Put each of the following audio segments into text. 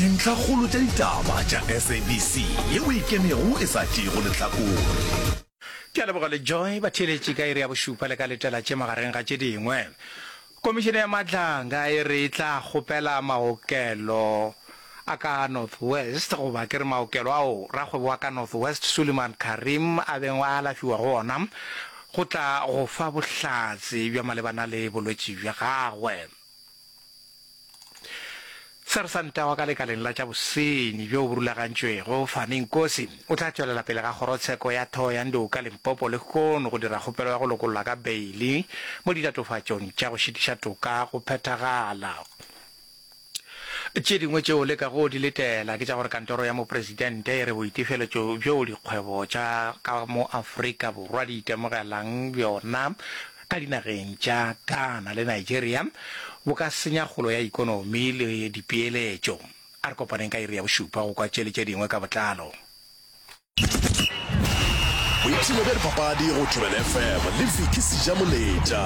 Dintlhakgolo tša ditaba tša SABC yeo e ikemego e sa tšeego lehlakore. Ke a leboga le Joy batheeletši ka iri ya bošupa le ka letela tše magareng ga tše dingwe. Komišene ya Madlanga e re e tla kgopela maokelo a ka North West goba ke re maokelo ao rakgwebo wa ka North West Suliman Carrim a beng a alafiwa go ona go tla go fa bohlatse bja malebana le bolwetši bja gagwe. Sersanta wa ka lekaleng la tša bosenyi bjo bo rulagantšwego, Fani Nkosi, o tla tšwelela pele ga kgorotsheko ya Thohoyandou ka Limpopo lehono go dira kgopelo ya go lokollwa ka beili mo ditatofatšong tša go šitiša toka go phethagala. Tše dingwe tšeo le kago di letela ke tša gore kantoro ya mopresidente e re boitefeletšo bjoo dikgwebo tša ka mo Afrika Borwa di itemogelang bjona ka dinageng tša Ghana le Nigeria bo ka senya kgolo ya ikonomi le dipeeletšo. A re kopaneng ka iri ya bošupa go kwa tše le tše dingwe ka botlalo. Boipshino bja dipapadi go Thobela FM le Vicky Sejamoletša.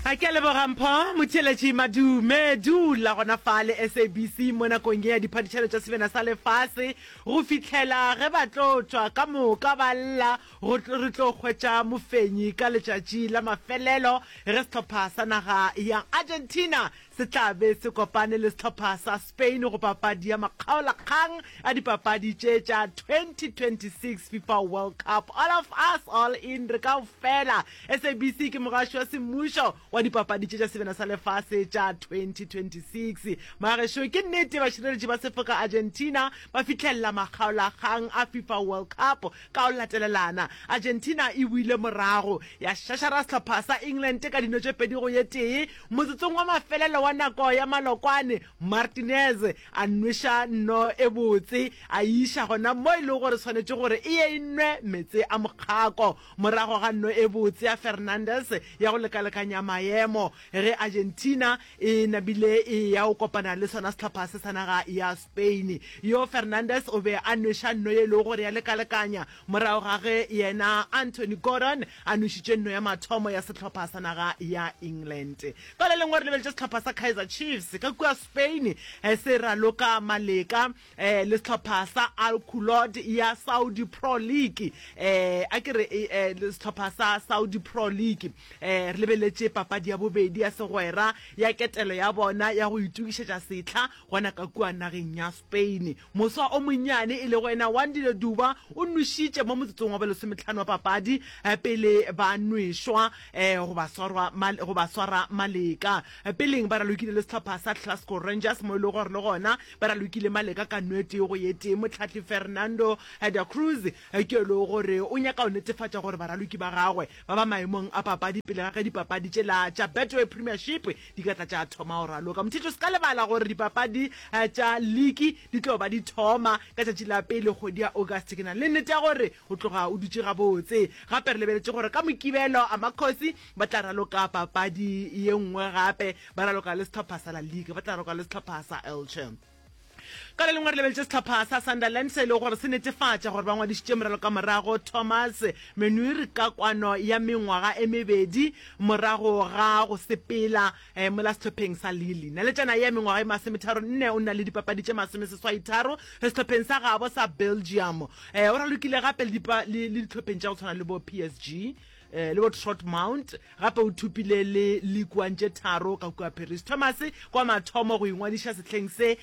A ke a leboga Mpho Motheeletši Madume. Dula gona fa le SABC mo nakong ye ya diphadišano tša Sebjana sa Lefase go fihlela ge ba tlo tšwa ka moka ba lla Go re tlo hwetša mofenyi ka letšatši la mafelelo ge sehlopha sa naga ya Argentina se tla be se kopane le sehlopha sa Spain go papadi ya makgaolakgang a dipapadi tše tša 2026 FIFA World Cup. All of us, all in, re kaofela. SABC ke mogaši wa semmušo wa dipapadi tše tša Sebjana sa Lefase tša 2026. Magešo, ke nnete bašireletši ba sefoka Argentina ba fihlelela makgaolakgang a FIFA World Cup Ka go latelelana, Argentina e boile morago ya šašara sehlopha sa England ka dino tše 2 go ye tee. Motsotsong wa mafelelo wa nako ya malokwane, Martinez a nweša nno e botse a e iša gona mo e lego gore swanetše gore e ye e nwe meetse a mokgako. Morago ga nno e botse ya Fernandes ya go lekalekanya maemo ge Argentina e nabile e ya go kopana le sona sehlopha se sa naga ya Spain. Yo Fernandes o be a nweša nno ye e lego gore ya lekalekanya morago ga ge yena Anthony Gordon a nwešitše nno ya mathomo ya sehlopha sa naga ya England. Ka le lengwe re lebeletše sehlopha sa Kaizer Chiefs ka kua Spain se raloka maleka le sehlopha sa Al Kholood ya Saudi Pro League. A ke re sehlopha sa Saudi Pro League. Re lebeletše papadi ya bobedi ya segwera ya ketelo ya bona ya go itokišetša sehla Gona ka kua nageng ya Spain, moswa o monnyane e lego yena Wandile Duba o nwešitše mo motsotsong wa bolesometlhano wa papadi pele ba nwešwa go ba swarwa go ba swara maleka. Peleng ba ralokile le sehlopha sa Glasgow Rangers mo e lego gore le gona ba ralokile maleka ka nno e tee go ye tee. Mohlahli Fernando da Cruz ke yo e lego gore o nyaka go netefatša gore baraloki ba gagwe ba ba maemong a papadi pele ga ge dipapadi tšela tša Betway Premiership di ka tla tša thoma go raloka. Mothetho, se ka lebala gore dipapadi tša liki di tlo ba di thoma ka tšatši la pele kgwedi ya August. Ke na le nnete ya gore o tloga o dutše gabotse. Gape re lebeletše gore ka Mokibelo Amakhosi ba tla raloka papadi ye nngwe gape, ba raloka le sehlopha sa La Liga, ba tla raloka le sehlopha sa Elche. Ka le lengwe re lebeletše sehlopha sa Sunderland se e lego gore se netefatša gore ba ngwadišitše moralokamorago Thomas Menuir ka kwano ya mengwaga e mebedi morago ga go sepela mola sehlopheng sa Lille. Naletšana ye ya mengwaga e masometharonne o na le dipapadi tše masomeseswaitharo sehlopheng sa gabo sa Belgium. O ralokile gape le dihlopheng tša go tshwana le bo PSG le bo Trotmount. Gape o thopile le League One tše tharo ka kua Paris. Thomas kwa mathomo go ingwadiša sehleng se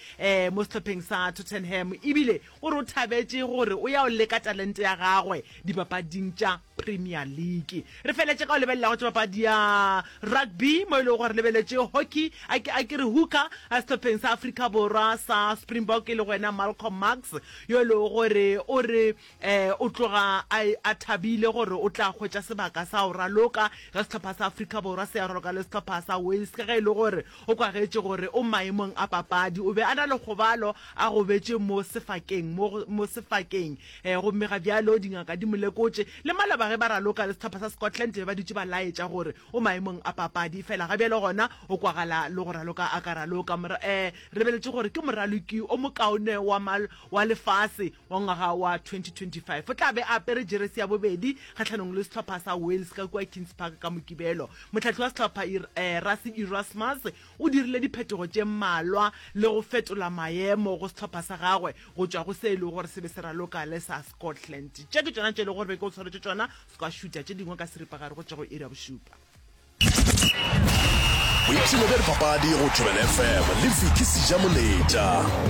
mo sehlopheng sa Tottenham ebile o re o thabetše gore o ya go leka talente ya gagwe dipapading tša Premier League. Re feletše ka go lebelela go tša papadi ya rugby mo e lego gore re lebeletše hockey, a ke a ke re hooker sehlopheng sa Afrika Borwa sa Springbok e lego yena Malcolm Marx yo e lego gore o re O tloga a, a thabile gore o tla hwetša sebaka sa go raloka ge sehlopha sa Afrika Borwa se ya raloka le sehlopha sa Wales ka ge e le gore o kwagetše gore o maemong a papadi. O be a na le kgobalo a gobetše mo sefakeng, mo, mo sefakeng. Gomme ga bjalo dingaka di mo lekotše. Le maloba ge ba raloka le sehlopha sa Scotland be ba dutše ba laetša gore o maemong a papadi. Efela ga bjalo gona o kwagala le go raloka a ka raloka. Mora, re lebeletše gore ke moraloki o mokaone wa, wa lefase wa ngwaga wa 2025. O tla be a apere jeresi ya bobedi kgahlanong le sehlopha sa Wales. Wales ka kua Kings Park ka Mokibelo. Mohlahli wa sehlopha Rassie Erasmus o dirile diphetogo tše mmalwa le go fetola maemo go sehlopha sa gagwe go tšwa go se e lego gore se be se raloka le sa Scotland. Tše ke tšona tše e lego gore be ke o tshwaretše tšona, se ka šutha tše dingwe ka seripagare go tšwa go iri ya bošupa. Boipshino bja dipapadi go Thobela FM le Vicky Sejamoletša.